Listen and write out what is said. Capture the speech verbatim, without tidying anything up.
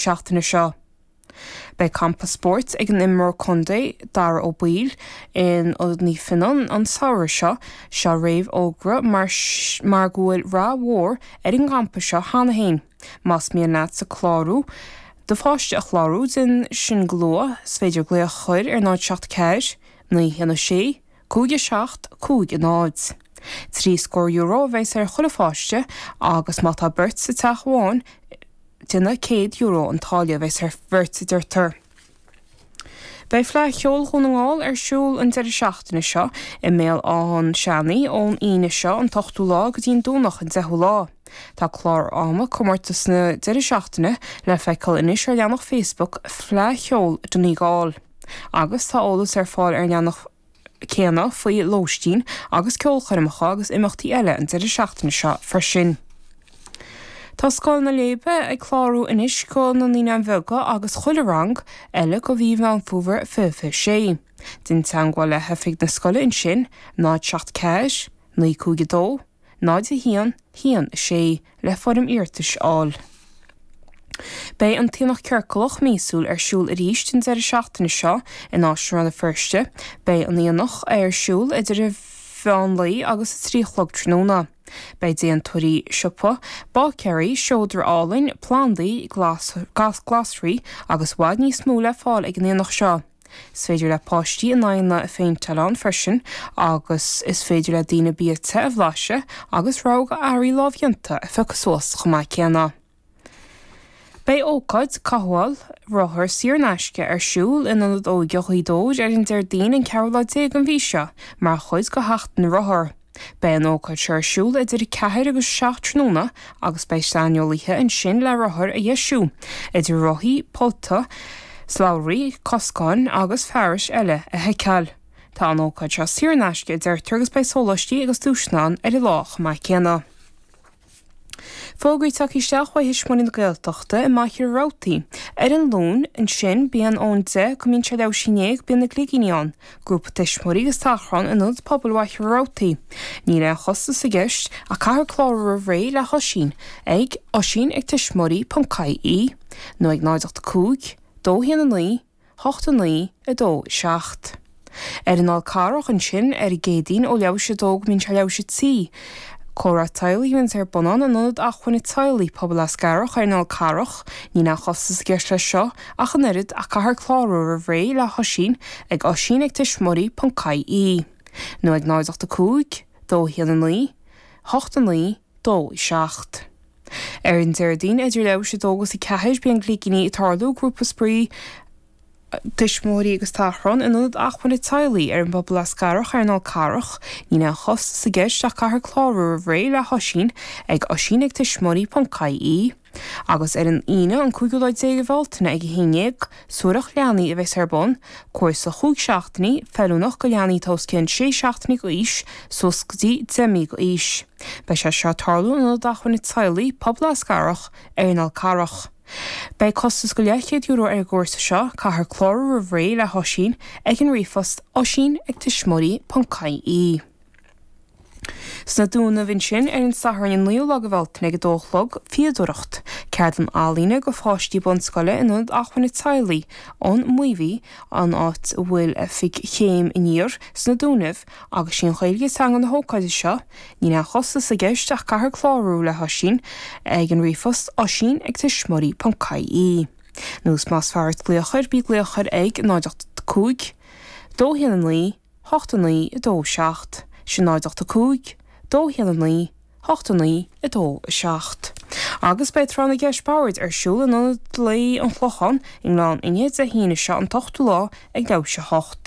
seachtaine seo. Beidh campa spóirt ag an imreoir contae Dara Ó Baoill in Ionad Naomh Fionnán an samhradh seo seo réamhfhógra mar, mar go bhfuil rath mhór ar an gcampa seo cheana féin. Más mian leat sa clárú do pháiste a chlárú déan sin go luath, is féidir glaoch a chur ar náid seacht ceathair, naoi haon a sé, cúig a seacht, cúig a náid. Trí scór euro a bheas ar chuile pháiste agus má tá beirt sa teach amháin déanamh céad euro an táille a bheas ar bheirt a deirtear. Beidh Fleadh Cheoil Dhún na nGall ar siúl an deireadh seachtaine seo i mBéal Átha an Seanaidh ón Aoine seo an t-ochtú lá go dtí an Domhnach an deichiú lá. Tá clár ama comórtas na deireadh seachtaine le feiceáil anois ar leathanach Facebook Fleadh Cheoil Donegal. Agus tá eolas ar fáil ar leathanach céanna faoi lóistín agus ceolchoirmeacha agus imeachtaí eile an deireadh seachtaine seo freisin. Tá Scoil na Léibe ag clárú anois go na naíonáin bheaga agus chuile rang eile go mhí Mheán Fómhair fiche fiche sé. Déan teagmháil le hoifig na scoile ansin, náid seacht ceathair, naoi cúig a dó, náid a haon, haon a sé le foirm iarratais a fháil. Beidh an t-aonach ciorclach míosúil ar siúl arís an deireadh seachtaine seo in Áislann Rann na Feirste, beidh an aonach ar siúl idir a mheán lae agus a trí chlog tráthnóna. Beidh déantóirí siopa, báicéirí, seodra álainn, plandaí, glas, gas glasraí agus i bhfad níos mó le fáil ag an aonach seo. Is féidir le páistí a n-aghaidheanna a phéinteáil ann freisin agus is féidir le daoine bia te a bhlaiseadh agus rogha earraí lámhdhéanta a phiocadh suas chomh maith céanna. Beidh ócáid cothabháil rothar saor in aisce ar siúl in Ionad Óige Ghaoth Dobhair ar an Déardaoin an ceathrú lá déag den mhí seo mar chuid de Sheachtain na Rothar. Beidh an ócáid seo ar siúl idir ceathair agus seacht tráthnóna agus beidh saineolaithe ansin le rothair a dheisiú, idir rothaí, pollta, slabhraí, coscáin agus fearais eile a sheiceáil. Tá an ócáid seo saor in aisce a deirtear agus beidh sóláistí agus duaiseanna ann ar an lá chomh maith céanna. Fógraí tagtha isteach ó Thuismitheoirí na Gaeltachta i Machaire Rabhartaigh. Ar an Luan ansin bíonn ón deich go mbíonn sé leathuair tar éis a haon déag bíonn na Gligíní ann, grúpa tuismitheoirí agus tachrán in Ionad Pobail Mhachaire Rabhartaigh. Níl aon chostas i gceist ach caithfear clárú roimh ré le hOisín ag oisín ag tuismitheoirí ponc ie nó ag náid ocht cúig, dó haon a naoi, hocht a naoi, a dó seacht. Ar an Fhál Carrach ansin ar an gCéadaoin ó leathuair tar éis a dó go mbíonn sé leathuair tar éis a trí. Comhrá teaghlaigh a bhíonns ar bun ann in Ionad Acmhainne Teaghlaigh Pobal Eascarrach ar an Fhál Carrach, níl aon chostas i gceist leis seo ach an oiread ach caithfear clárú roimh ré le hOisín ag oisín ag tuismitheoirí ponc ie nó ag náid ocht a cúig, dó haon a naoi, hocht a naoi, dó seacht. Ar an Déardaoin idir leathuair tar éis a dó agus a ceathair bíonn Gligíní ag tarlú grúpa spraoi tuismitheoirí agus tachrán in Ionad Acmhainne Teaghlaigh ar an bPobal Eascarrach ar an Fhál Carrach, níl aon chostas i gceist ach caithfear clárú roimh ré le hOisín ag oisín ag tuismitheoirí ponc ie. Agus ar an Aoine an cúigiú lá déag de Bhealtaine ag a haon déag, suathaireacht leanaí a bheas ar bun, cúrsa chúig seachtainí, feiliúnach go leanaí atá os cionn sé seachtainí d'aois suas go dtí deich mí d'aois. Beidh sé seo ag tarlú in Ionad Acmhainne Teaghlaigh Pobal Eascarrach ar an Fhál Carrach. Beidh costas go leathchéad euro ar an gcúrsa seo, caithfear clárú roimh ré le hOisín ag an ríomhphost oisín ag tuismitheoirí ponc ie. Sna Dúnaibh ansin ar an Satharn an naoú lá de Bhealtaine ag a dó a chlog, fíodóireacht, ceardlann ealaíne go pháistí bunscoile in Ionad Acmhainne Teaghlaigh an Mobhí, an áit a bhfuil oifig Chéim Aniar sna Dúnaibh agus sí an Ghaeilge teanga na hócáide seo, Níl aon chostas i gceist ach caithfear clárú le hOisín ag an ríomhphost oisín ag tuismitheoirí ponc ie. Nó más fearr duit glaoch air bí glaoch air ag náid ocht cúig, dó haon a naoi, hocht a naoi, a dó seacht, sin náid ocht a cúig, dó haon a naoi, hocht a naoi, a dó seacht. Agus beidh Tráth na gCeist Boird ar siúl in Ionad Lae an Chlocháin i nGleann Fhinne Dé hAoine seo an t-ochtú lá ag leathuair tar éis a hocht.